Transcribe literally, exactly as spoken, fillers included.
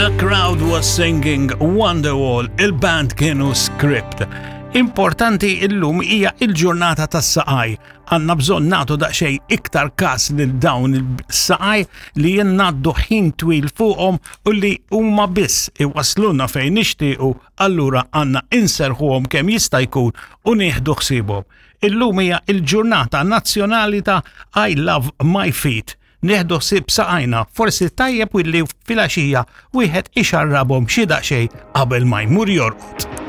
The crowd was singing Wonderwall, il-band kienu Script. Importanti, illum hija il-ġurnata tas-saqaj. Għandna bżonn nagħtu daqsxejn iktar kas lil dawn il-saqaj li jgħaddu ħin twil fuqhom u li huma biss iwasluna fejn nixtiequ, allura għandna inserħuhom kemm jista' jkun u nieħdu ħsiebhom. Illum hija il-ġurnata nazzjonali ta' I Love My Feet. Nieħdu ħsieb saqajna, forsi tajjeb illi filgħaxija wieħed ixarrabhom xi daqsxejn qabel ma jmur jorqod.